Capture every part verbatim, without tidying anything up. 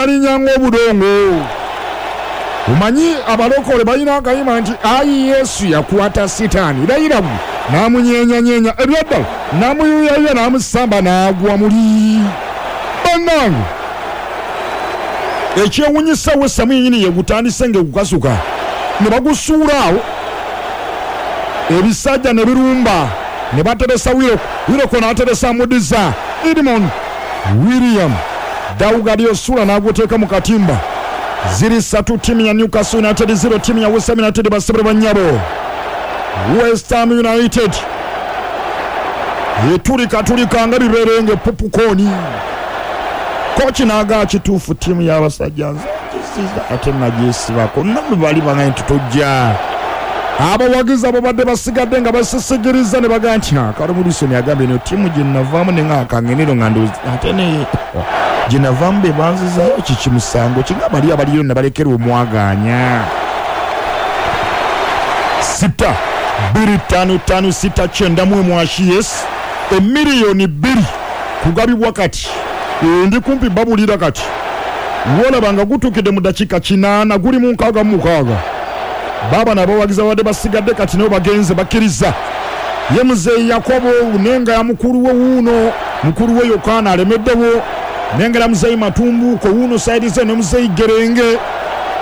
Balinnyalinya ng'obudongo. Omanyi abalokole balina akayima nti ayi Yesu yakwata sitaani layirabu n'amunyeenyanyeenya ebyaddala n'amuyuyayuya n'amusamba n'agwa muli. Bannange ekyewunyisa West Ham yennyini yegutandise ng'egukasuka ne bagusuula awo ebisajja ne birumba ne bateresa Willock. Willock n'ateresa Mudiza Edmond William Daugadio Sula n'aguteeka mu katimba. Ziri ssatu ttiimu ya Newcastle United zero ttiimu ya West Ham United. Basebere bannyabo, West Ham United etulikatulika nga biberenge popcorn. Kochi n'agaa kituufu ttiimu y'abasajja nze ate nagyesibako nammwe bali bangaye nti tojja. Abawagizi abo badde basigadde nga basisigiriza ne bagaa nti Kalumudison yagambye eno ttiimu gye navaamu ne nga akangenero nga ndowooza ate ne gye navaamu be banzizaayo kiki musango kinga bali abaliyo ne balekera omwagaanya. Sita bbiri ttaano ttaano sita kyenda mu emu yes emiliyoni bbiri kugabibwa kati ndi kumpi babulira kati wolaba nga gutuukidde mu dakiika kinaana guli mu nkaaga mu mukaaga. Baba n'abawagizi abadde basigadde kati nabo bagenze bakkiriza. Ye muzeeyi Yakobo nenga ya mukulu we wuuno mukulu we Yokaana alemeddewo nengera muzeeyi Matumbuko wuuno sayidi ze ne muzeeyi Gerenge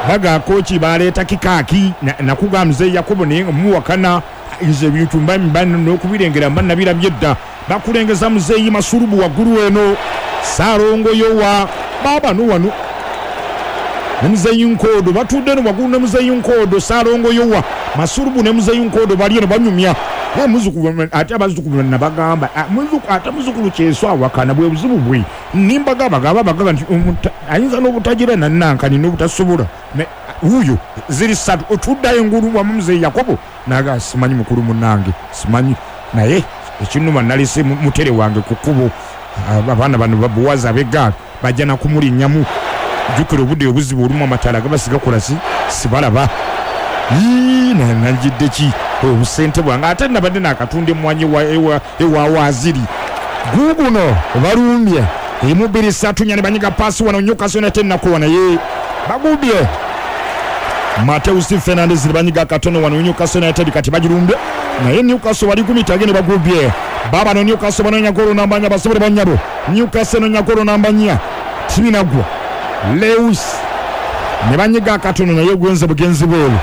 baga kochi baleeta kikaaki nakuga muzeeyi Yakobo naye nga muwakana nze ebintu mba mba n'okubirengera mba nabirabye dda. Bakulengeza muzeeyi Masulubu waggulu eno Saalongo Yowa baaba no wano ne muzeeyi Nkodo batudde no waggulu ne muzeeyi Nkodo Saalongo Yowa Masulubu ne muzeeyi Nkodo bali eno banyumya. Ye muzukulu ate abazzukulu nabagamba muzukulu ate muzukulu kyeso awakana bwe buzibu bwe nimbaga bagaba bagaba nti ayinza n'obutagira nannankani n'obutasobola wuuyo ziri ssatu otuddayo engulu wamu muzeeyi Yakobo naga simanyi mukulu munnange simanyi naye ekinnuma nalese mutere wange ku kkubo abaana bano babuwaza ab'eggaali bajja na kumulinnyamu. Jjukira obudde obuzibu olumu amataala gabasiga kola si sibalaba nanjidde ki obusente bwange ate nabadde nakatunda emmwanyi ewa waaziri guguno balumbye emu bbiri ssatu nnya ne banyiga paasi wano Newcastle United nakuwa naye bagubye Mateus Fernandes ne banyiga katono wano Newcastle United kati bagirumbye naye Newcastle bali kumitage ne bagubye baba no Newcastle banoonya golo namba nnya basobole bannyabo Newcastle enoonya golo namba nnya tibinagwa Lewis ne banyiga katono naye gwenze bugenzi bweru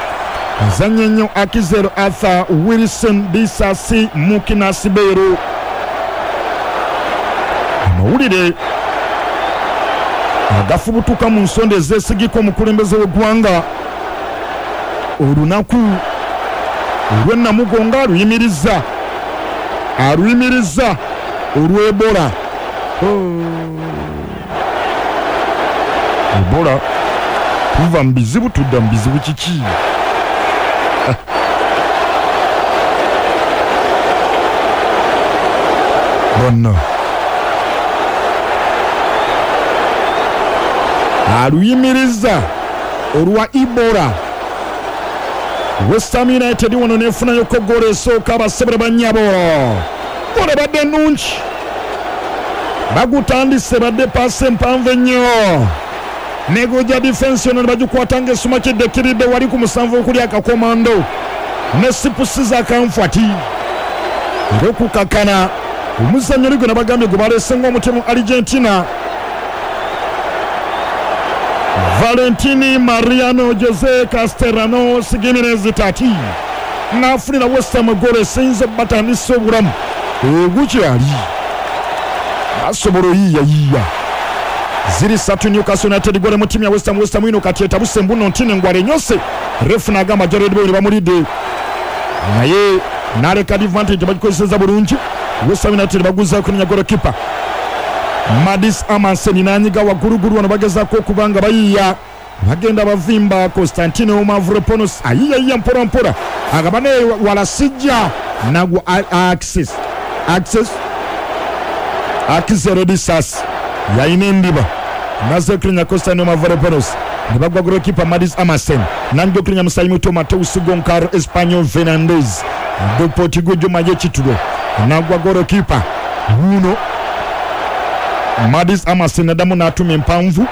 azanye nnyo Akizero Arthur Wilson Bisasi Mukina Siberu. Amawulire agafubutuka mu nsonda ezeesigika omukulembeze w'eggwanga olunaku olw'ennamugongo aluyimiriza aluyimiriza olw'Ebola. Ebola tuva mu bizibu tudda mu bizibu kiki? Bonna aluyimiriza olwa Ebola. West Ham United wano nefunayo ko ggoolo esooka abasebere bannyabo. Ggoolo ebadde nnungi bagutandise badde paasi empanvu ennyo negoja defense eno ne bagikwata ng'esuma kiddekiridde wali ku musanvu okuli akakomando ne sipusiza akanfwati era okukakana omuzannyo oli gwe nabagambye gwe baleese ng'omutemu Argentina Valentini Mariano Jose Castellano Gimenez Tati n'afunira West Ham ggoolo esiyinza obbatandisa obulamu ogukyali basobola oyiiyayiiya. Ziri ssatu Newcastle United ggoolo mu ttiimu ya West Ham. West Ham ino kati etabuse mbuno ntini engwala enyose refu n'agamba Jared Bowen bamulidde naye n'aleka advantage bagikozesezza bulungi. West Ham United baguzaako nenya golokipa Madis Amansen n'anyiga waggulugulu wano bagezaako okuba nga bayiiya bagenda bavimba Constantino Mavropanos ayiiyayiya mpola mpola agaba naye wala sijja nagwa access access Akizero Disas yalina endiba naze okulinya Constantino Mavropanos ne bagwa golokipa Madis Amansen nanyiga okulinya musayi muto Mateus Goncalo Espanyol Fernandez do Portugal Juma Yekitulo nagwa golokipa wuno Madis Amansen naddamu n'atuma empanvu